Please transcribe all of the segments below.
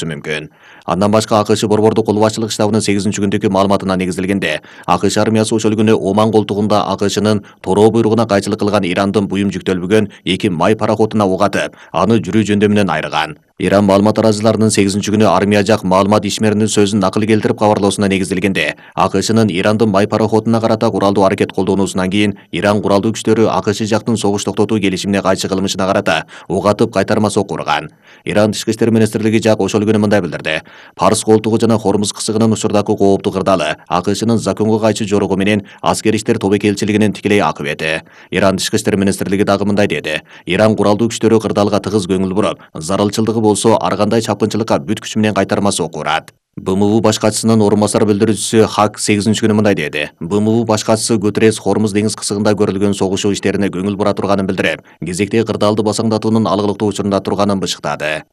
мүмкүн. Андан башка АКШ борбордук кол башчылык штабынын 8-күндөгү маалыматына негизделгенде, АКШ армиясы ошол күнү Оман колтугунда АКШнын тороо буйругуна кайчылык кылган Ирандын буюм жүктөлбөгөн 2 май пароходуна ок атып, аны жүрүү жөндөмүнөн айырган. Иран маалымат тараачыларынын 8-күнү армия жак маалымат ишмеринин сөзүн накыл келтирип кабарлоосуна негизделгенде, АКШнын Ирандын май пароходуна карата куралдуу аракет колдонуусунан кийин Иран куралдуу күчтөрү АКШ жактын согуш токтотуу келишимине кайшы кылмышына карата ок атып кайтарма сокку урган. Иран Тышкы иштер министрлиги жак ошол күнү мындай билдирди: Парс колтугу жана Хормуз кысыгынын учурдагы кооптуу кырдаалы АКШнын законго кайшы жорогу менен аскер иштер тобокелчилигинин тикелей акыбети. Иран Тышкы иштер министрлиги дагы мындай деди: Иран куралдуу күчтөрү кырдаалга тыгыз көңүл буруп, зарылчылдыгы болсо ар кандай чапкынчылыкка бүт күчү менен кайтарма сокку урат. БМУ баш катчысынын орун басар билдирүүчүсү Хак 8-күнү мындай деди: БМУ баш катчысы Гутеррес Хормуз деңиз кысыгында көрүлгөн согуш иштерине көңүл бура турганын билдирип, кезектеги кырдаалды басаңдатуунун алгылыктуу учурунда турганын бышыктады.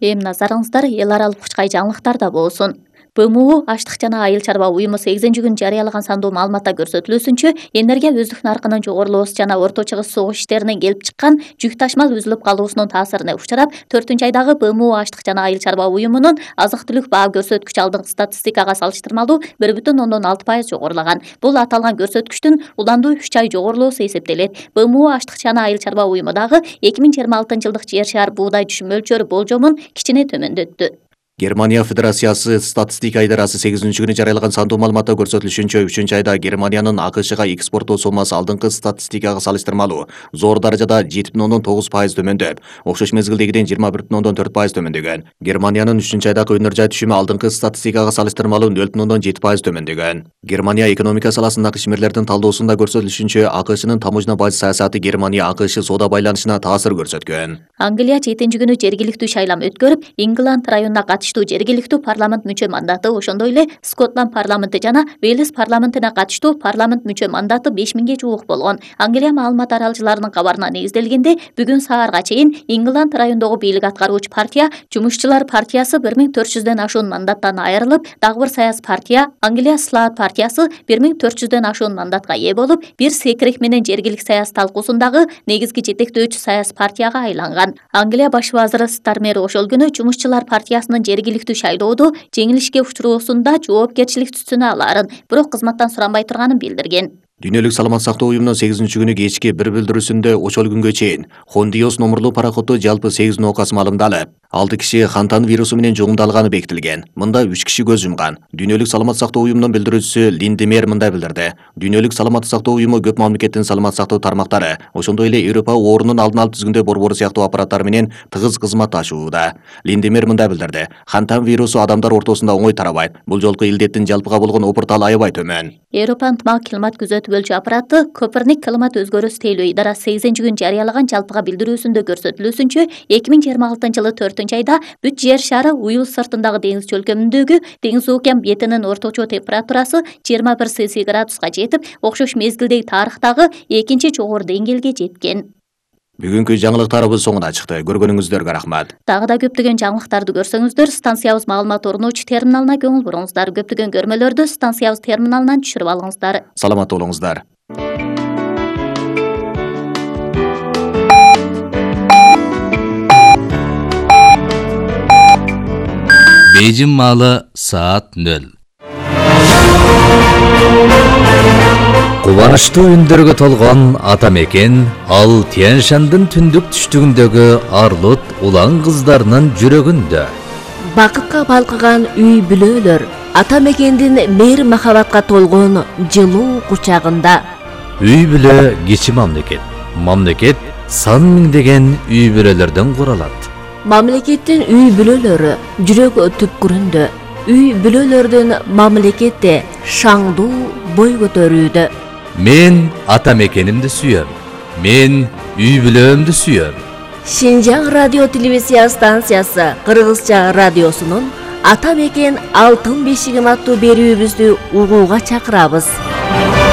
Эми назарыңыздар эл аралык учкай жаңылыктарда болсун. БМУ Аштык жана Айыл чарба уюму 8-күнү жарыялаган сандуу маалыматта көрсөтүлүүсүнчө, энергия өздүк наркынын жогорулоосу жана Орто Чыгыш согуш иштеринен келип чыккан жүк ташмал үзүлүп калуусунун таасирине учурап, 4-айдагы БМУ Аштык жана Айыл чарба уюмунун азык-түлүк баа көрсөткүчү алдыңкы статистикага салыштырмалуу 1,6% жогорулаган. Бул аталган көрсөткүчтүн уландуу 3 ай жогорулоосу эсептелет. БМУ Аштык жана Айыл чарба уюму дагы 2026-жылдык жер шаар буудай түшүм мөлчөрү болжомун кичине төмөндөттү. Германия Федерациясы статистика идарасы 8-күнү жарыялаган сандуу маалыматта көрсөтүлүшүнчө 3-айда Германиянын АКШга экспорттоо соммасы алдыңкы статистикага салыштырмалуу зор даражада 7,9% төмөндөп, окшош мезгилдегиден 21,4% төмөндөгөн. Германиянын 3-айдагы өнөр жай түшүмү алдыңкы статистикага салыштырмалуу 0,7% төмөндөгөн. Германия экономика саласындагы ишмерлердин талдоосунда көрсөтүлүшүнчө, АКШнын таможна баж саясаты Германия АКШ соода байланышына таасир көрсөткөн. Англия 7-күнү жергиликтүү шайлам өткөрүп, Ингланд районуна жергиликтүү парламент мүчө мандаты, ошондой эле Скотланд парламенти жана Велес парламентине катыштуу парламент мүчө мандаты 5000ге жуук болгон. Англия маалымат аралчыларынын кабарына негизделгенде, бүгүн саарга чейин Ингланд райондогу бийлик аткаруучу партия, Жумушчулар партиясы 1400дөн ашуун мандаттан айрылып, дагы бир саясий партия, Англия Слаат партиясы 1400дөн ашуун мандатка ээ болуп, бир секирек менен жергилик саясий талкуусундагы негизги жетектөөчү саясий партияга айланган. Англия баш вазыры Стармер ошол күнү Жумушчулар партиясынын жергиликтүү шайлоодо жеңилишке учуроосунда жоопкерчилик түтүнө аларын, бирок кызматтан суранбай турганын билдирген. Дүйнөлүк саламат сактоо уюмунун 8-күнү кечки бир билдирүүсүндө ошол күнгө чейин Хондиос номурлуу пароходдо жалпы 8 оокас маалымдалып, 6 киши хантан вирусу менен жугумдалганы бекитилген. Мында 3 киши көз жумган. Дүйнөлүк саламат сактоо уюмунун билдирүүчүсү Линдемер мындай билдирди: Дүйнөлүк саламат сактоо уюму көп мамлекеттин саламат сактоо тармактары, ошондой эле Европа оорунун алдын алып түзгөндө борбору сыяктуу аппараттар менен тыгыз кызматташууда. Линдемер мындай билдирди: Хантан вирусу адамдар ортосунда оңой тарабайт. Бул жолку илдеттин жалпыга болгон опурталы аябай төмөн. Европа ынтымак климат күзөтүү бөлчү аппараты Коперник климат өзгөрүүсү тейлөө идарасы 8-күнү жарыялаган жалпыга билдирүүсүндө көрсөтүлүүсүнчө, 2026-жылы 4-айда бүт жер шары уюл сыртындагы деңиз чөлкөмүндөгү деңиз океан бетинин орточо температурасы 21 Цельсий градуска жетип, окшош мезгилдеги тарыхтагы экинчи жогору деңгээлге жеткен. Бүгүнкү жаңылыктарыбыз соңуна чыкты. Көргөнүңүздөргө рахмат. Дагы да көптөгөн жаңылыктарды көрсөңүздөр, станциябыз маалымат орнотуучу терминалына көңүл буруңуздар. Көптөгөн көрмөлөрдү станциябыз терминалынан түшүрүп алыңыздар. Саламатта болуңуздар. Бейжин маалы саат 0. Кубанычтуу үндөргө толгон ата мекен, ал Тянь-Шандын түндүк түштүгүндөгү арлыт улан кыздарынын жүрөгүндө. Бакытка балкыган үй бүлөлөр, ата мекендин мейир махабатка толгон жылуу кучагында. Үй бүлө кичи мамлекет. Мамлекет сан миңдеген үй бүлөлөрдөн куралат. Мамлекеттин үй бүлөлөрү жүрөк түпкүрүндө. Үй бүлөлөрдүн мамлекетте шаңдуу бой көтөрүүдө. Мен ата мекенимди сүйөм. Мен үй бүлөмдү сүйөм. Шинжаң радио телевизия станциясы Кыргызча радиосунун Ата мекен алтын бешигим аттуу берүүбүздү угууга чакырабыз.